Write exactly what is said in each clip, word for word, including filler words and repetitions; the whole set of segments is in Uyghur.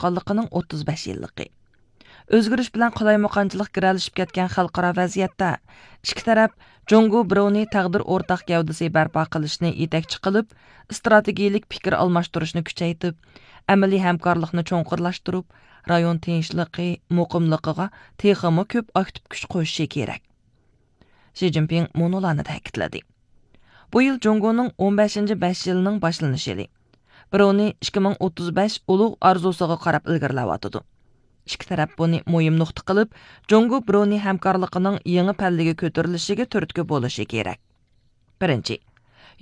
چىققانلىقىنىڭ ئوتتۇز بەش يىللىقى. ئۆزگىرىش بىلەن قالايمىقانچىلىق گىرەلىشىپ كەتكەن خەلقئارا ۋەزىيەتتە، ئىككى تەرەپ جۇڭگو برۇنېي تەقدىر ئورتاق گەۋدىسى بەرپا قىلىشنى يېتەكچى قىلىپ، ئىستراتېگىيىلىك پىكىر ئالماشتۇرۇشنى كۈچەيتىپ، ئەمەلىي ھەمكارلىقنى چوڭقۇرلاشتۇرۇپ، رايون تىنچلىقى، مۇقىملىقىغا تېخىمۇ كۆپ ئاكتىپ كۈچ قوشۇشى كېرەك. شى جىنپىڭ مۇنۇلارنى تەكىتلىدى: بۇ يىل جۇڭگونىڭ ئون بەشىنچى بەش يىلىنىڭ باشلىنىش يىلى. برۇنېي ئىككى مىڭ ئوتتۇز بەش ئۇلۇغ ئارزۇسىغا قاراپ ئىلگىرىلەۋاتىدۇ. ئىككى تەرەپ بۇنى مۇھىم نۇقتا قىلىپ، جۇڭگو برۇنېي ھەمكارلىقىنىڭ يېڭى پەللىگە كۆتۈرۈلۈشىگە تۈرتكە بولۇشى كېرەك. بىرىنچى،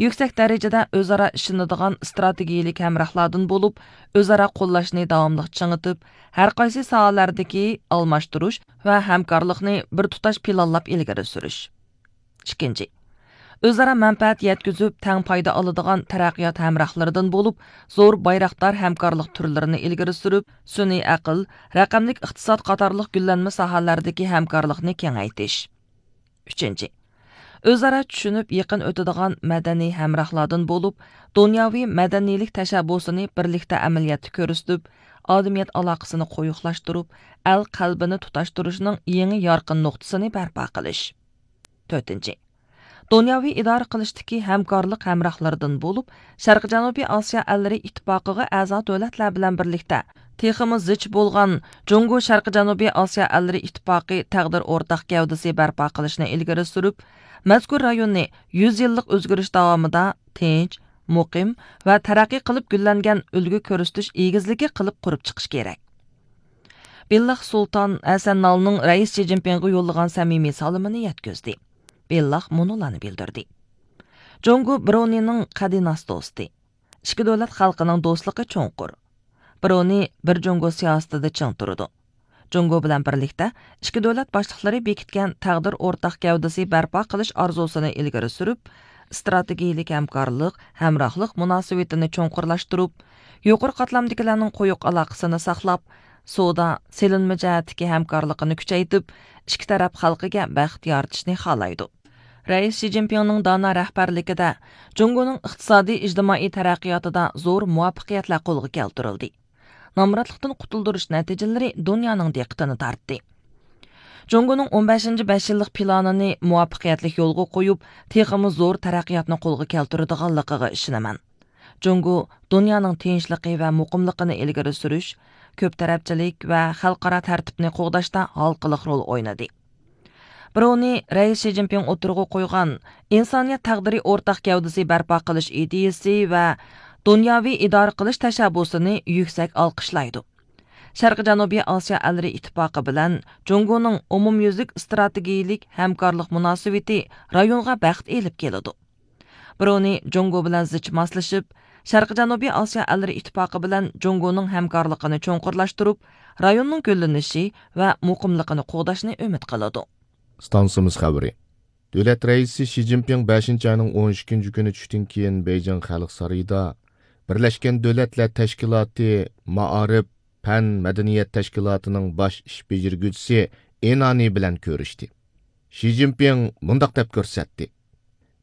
يۈكسەك دەرىجىدە ئۆزئارا ئىشىنىدىغان ئىستراتېگىيىلىك ھەمراھلاردىن بولۇپ، ئۆزئارا قوللاشنى داۋاملىق چىڭىتىپ، ھەر قايسى ساھەلەردىكى ئالماشتۇرۇش ۋە ھەمكارلىقنى بىر تۇتاش پىلانلاپ ئىلگىرى سۈرۈش. ئىككىنچى، ئۆزئارا مەنپەئەت يەتكۈزۈپ، تەڭ پايدا ئالىدىغان تەرەققىيات ھەمراھلىرىدىن بولۇپ، زور بايراقدار ھەمكارلىق تۈرلىرىنى ئىلگىرى سۈرۈپ، سۈنئىي ئەقىل، رەقەملىك ئىقتىساد قاتارلىق گۈللەنمە ساھەلەردىكى ھەمكارلىقنى كېڭەيتىش. ئۈچىنچى، ئۆزئارا چۈشىنىپ يېقىن ئۆتىدىغان مەدەنىي ھەمراھلاردىن بولۇپ، دۇنياۋى مەدەنىيلىك تەشەببۇسىنى بىرلىكتە ئەمەلىيەتتە كۆرسىتىپ، ئادەمىيەت ئالاقىسىنى قويۇقلاشتۇرۇپ، ئەل قەلبىنى تۇتاشتۇرۇشنىڭ يېڭى يارقىن نۇقتىسىنى بەرپا قىلىش. تۆتىنچى، دۇنياۋى ئىدارە قىلىشتىكى ھەمكارلىق ھەمراھلىرىدىن بولۇپ، شەرقىي جەنۇبىي ئاسىيا ئەللىرى ئىتتىپاقىغا ئەزا دۆلەتلەر بىلەن بىرلىكتە تېخىمۇ زىچ بولغان جۇڭگو شەرقىي جەنۇبىي ئاسىيا ئەللىرى ئىتتىپاقى تەقدىر ئورتاق گەۋدىسى بەرپا قىلىشنى ئىلگىرى سۈرۈپ، مەزكۇر رايوننى يۈز يىللىق ئۆزگىرىش داۋامىدا تىنچ، مۇقىم ۋە تەرەققىي قىلىپ گۈللەنگەن ئۈلگە كۆرسىتىش ئېگىزلىكى قىلىپ قۇرۇپ چىقىش كېرەك. بىللاھ سۇلتان ھەسەن نالنىڭ رەئىس شى جىنپىڭغا يوللىغان سەمىمىي سالىمىنى يەتكۈزدى. بىللاھ مۇنۇلارنى بىلدۈردى: جۇڭگو برۇنېينىڭ قەدىناس دوستى. ئىككى دۆلەت خەلقىنىڭ دوستلۇقى چوڭقۇر. برۇنېي بىر جۇڭگو سىياسىتىدە چىڭ تۇرىدۇ. جۇڭگو بىلەن بىرلىكتە ئىككى دۆلەت باشلىقلىرى بېكىتكەن تەقدىر ئورتاق گەۋدىسى بەرپا قىلىش ئارزۇسىنى ئىلگىرى سۈرۈپ، ئىستراتېگىيىلىك ھەمكارلىق، ھەمراھلىق مۇناسىۋىتىنى چوڭقۇرلاشتۇرۇپ، يۇقىرى قاتلامدىكىلەرنىڭ قويۇق ئالاقىسىنى ساقلاپ، سودا، سېلىنما جەھەتتىكى ھەمكارلىقىنى كۈچەيتىپ، ئىككى تەرەپ خەلقىگە بەخت يارىتىشنى خالايدۇ. رەئىس شى جىنپىڭنىڭ دانا رەھبەرلىكىدە جۇڭگونىڭ ئىقتىسادىي، ئىجتىمائىي تەرەققىياتىدا زور مۇۋەپپەقىيەتلەر قولغا كەلتۈرۈلدى. نامراتلىقتىن قۇتۇلدۇرۇش نەتىجىلىرى دۇنيانىڭ دىققىتىنى تارتتى. جۇڭگونىڭ ئون بەشىنچى بەش يىللىق پىلانىنى مۇۋەپپەقىيەتلىك يولغا قويۇپ، تېخىمۇ زور تەرەققىياتنى قولغا كەلتۈرىدىغانلىقىغا ئىشىنىمەن. جۇڭگو دۇنيانىڭ تىنچلىقى ۋە مۇقىملىقىنى ئىلگىرى سۈرۈش، كۆپ تەرەپچىلىك ۋە خەلقئارا تەرتىپنى قوغداشتا ھالقىلىق رول ئوينىدى. برۇنېي رەئىس شى جىنپىڭ ئوتتۇرىغا قويغان ئىنسانىيەت تەقدىرى ئورتاق گەۋدىسى بەرپا قىلىش ئىدىيىسى ۋە دۇنياۋى ئىدارە قىلىش تەشەببۇسىنى يۈكسەك ئالقىشلايدۇ. شەرقىي جەنۇبىي ئاسىيا ئەللىرى ئىتتىپاقى بىلەن جۇڭگونىڭ ئومۇميۈزلۈك ئىستراتېگىيىلىك ھەمكارلىق مۇناسىۋىتى رايونغا بەخت ئېلىپ كېلىدۇ. برۇنېي جۇڭگو بىلەن زىچ ماسلىشىپ، شەرقىي جەنۇبىي ئاسىيا ئەللىرى ئىتتىپاقى بىلەن جۇڭگونىڭ ھەمكارلىقىنى چوڭقۇرلاشتۇرۇپ، رايوننىڭ گۈللىنىشى ۋە مۇقىملىقىنى قوغداشنى ئۈمىد قىلىدۇ. ئىستانسىمىز خەۋىرى. دۆلەت رەئىسى شى جىنپىڭ بەشىنچى ئاينىڭ ئون ئىككىنچى كۈنى چۈشتىن كېيىن بېيجىڭ خەلق سارىيىدا بىرلەشكەن دۆلەتلەر تەشكىلاتى مائارىپ، پەن، مەدەنىيەت تەشكىلاتىنىڭ باش ئىش بېجىرگۈچىسى ئېنانى بىلەن كۆرۈشتى. شى جىنپىڭ مۇنداق دەپ كۆرسەتتى: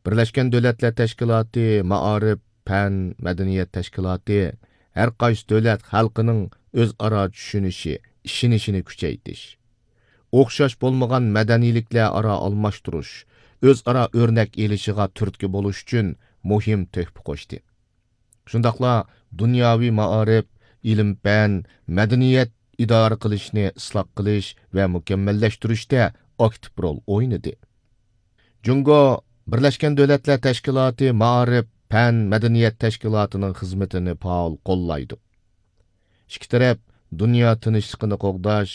بىرلەشكەن دۆلەتلەر تەشكىلاتى مائارىپ، پەن، مەدەنىيەت تەشكىلاتى ھەر قايسى دۆلەت خەلقىنىڭ ئۆزئارا چۈشىنىشى، ئىشىنىشىنى كۈچەيتىش، ئوخشاش بولمىغان مەدەنىيلىكلەر ئارا ئالماشتۇرۇش، ئۆزئارا ئۆرنەك ئېلىشىغا تۈرتكە بولۇش ئۈچۈن مۇھىم تۆھپە قوشتى. شۇنداقلا دۇنياۋى مائارىپ، ئىلىم-پەن، مەدەنىيەت ئىدارە قىلىشنى ئىسلاھ قىلىش ۋە مۇكەممەللەشتۈرۈشتە ئاكتىپ رول ئوينىدى. جۇڭگو بىرلەشكەن دۆلەتلەر تەشكىلاتى مائارىپ، پەن، مەدەنىيەت تەشكىلاتىنىڭ خىزمىتىنى پائال قوللايدۇ. ئىككى تەرەپ دۇنيا تىنچلىقىنى قوغداش،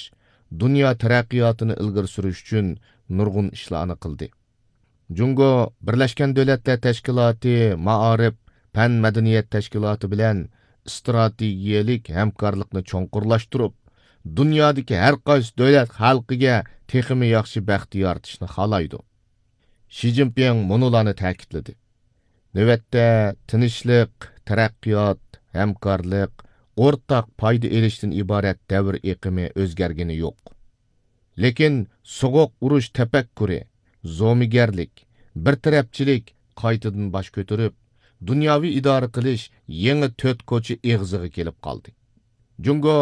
دۇنيا تەرەققىياتىنى ئىلگىرى سۈرۈش ئۈچۈن نۇرغۇن ئىشلارنى قىلدى. جۇڭگو بىرلەشكەن دۆلەتلەر تەشكىلاتى مائارىپ، پەن، مەدەنىيەت تەشكىلاتى بىلەن ئىستراتېگىيەلىك ھەمكارلىقنى چوڭقۇرلاشتۇرۇپ، دۇنيادىكى ھەر قايسى دۆلەت خەلقىگە تېخىمۇ ياخشى بەخت يارىتىشنى خالايدۇ. شى جىنپىڭ مۇنۇلارنى تەكىتلىدى: نۆۋەتتە تىنچلىق، تەرەققىيات، ھەمكارلىق، ئورتاق پايدا ئېلىشتىن ئىبارەت دەۋر ئېقىمى ئۆزگەرگىنى يوق. لېكىن سوغۇق ئۇرۇش تەپەككۇرى، زومىگەرلىك، بىر تەرەپچىلىك قايتىدىن باش كۆتۈرۈپ، دۇنياۋى ئىدارە قىلىش يېڭى تۆت كوچا ئېغىزىغا كېلىپ قالدى. جۇڭگو